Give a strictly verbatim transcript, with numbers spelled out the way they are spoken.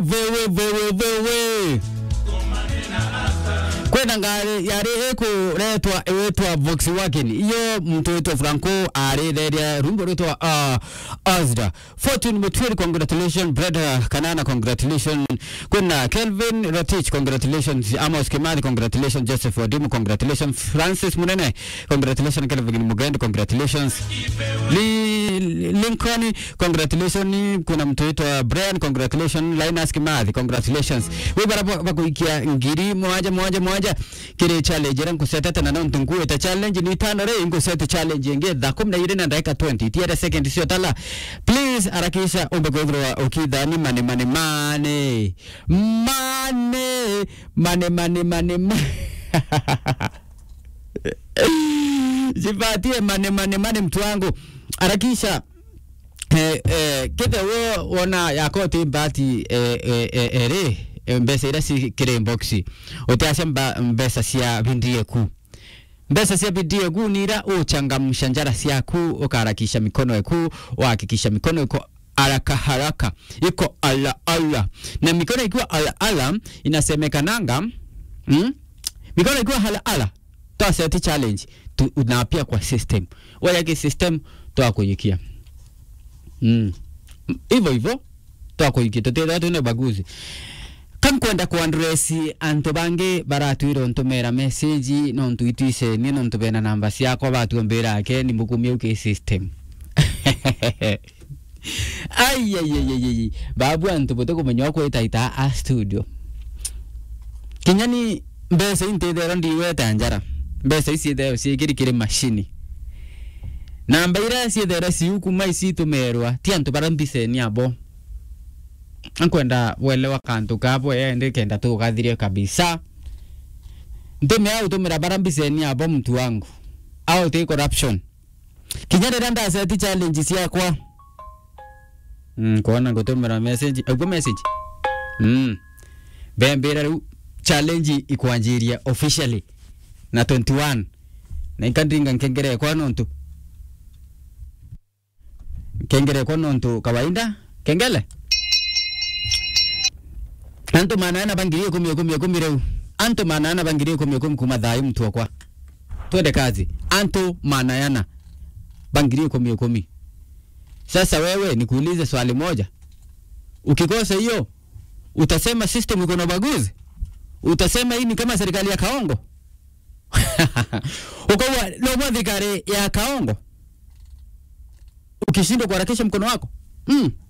Vowe, vowe, vowe. Kwina ngari yari ikuretwa iwitwa Volkswagen. Iyo muntu witwa Franco arireria rumbo rwitwa, uh, Asda. Fortune Mutwiri, congratulations. Breda Kanana, congratulations. Kwina Kelvin Rotich, congratulations. Amos Kimathi, congratulations. Joseph Wadimu, congratulations. Francis Munene, congratulations. Kelvin Mugendi, congratulations. Li-, Lincoln, congratulations. Kuna mtu aitwa Brian, congratulations. Linus Kimathi, congratulations. Wi bara ba-, bakuikia ngiri mwanja, mwanja, mwanja. Kiri challenge iria nkusetete na nontu nkuite challenge ni itano ri, nkusete challenge ingi thaa kumi na iri na ndagika twenty. Itiere second cio tala. Please, harakisha umbe kwithirwa ukithani mane, mane, mane. Mane. Mane, mane, mane, mane. Jipatie mane, mane, mane, mtu wangu. Harakisha, eh, eh, kithe wo wona yako ti mbati, eh, eh, eh, eh, ri, eh, mbeca iria ci kiri inbox. Utiacia mba-, mbeca cia bindie ku. Mbeca cia bindie ku ni ira uchangamsha njara ciaku, ukaharakisha mikono eku, uhakikisha mikono iko haraka haraka, iko ala ala. Na mikono ikiwa ala ala, inasemekananga, mm? Mikono ikiwa ala ala, twa set challenge, tu, unapia kwa system. Waya ki system, twa kuyikia. Mm. Hivyo hivyo, twa kuyikia. Tutethwa twina ubaguzi. Ka nkwenda ku address antu bangi baratwira untumira message, nontu itwisenie, nontu bena namba ciakwa, batuombira ake, ni mukumia uki system. Ai, ai, ai, ai, ai. Babu, antu butikumenya ukwitaita a studio. Kinya ni mbeca intithero ndiweta njara. Mbeca ici ithero ciikiri kiri mashini. Namba iria ciithero ciu kuma icitumerwa, ti antu bara mbiceni abo. Nkwenda welewa kantu kabo, endi kenda tugathirie kabisa. Ntumia utumira bara mbiceni abo, mtu wangu. Au ti corruption. Kinya riria ndaseti challenge ciakwa. Mm, kwona ngutumira message. Aigua message? Mm. Bembira riu challenge ikwanjiria officially na twenty-one. Na inkandinga nkengere kwa nontu. Nkengere kwa nontu kawaida. Kengele? Antu maana ana ba ngiri ikumi, ikumi, ikumi riu. Antu maana ana ba ngiri ikumi, ikumi kuma thayu, mtu wakwa. Twende kazi. Antu maana ana ba ngiri ikumi, ikumi. Sasa wewe, nikuulize swali moja. Ukikosa hiyo, utasema system iko na ubaguzi? Utasema hii ni kama serikali ya Kaongo? Ukaua, no kwa thirikari ya Kaongo? Ukishindwa kuharakisha mkono wako? Mm.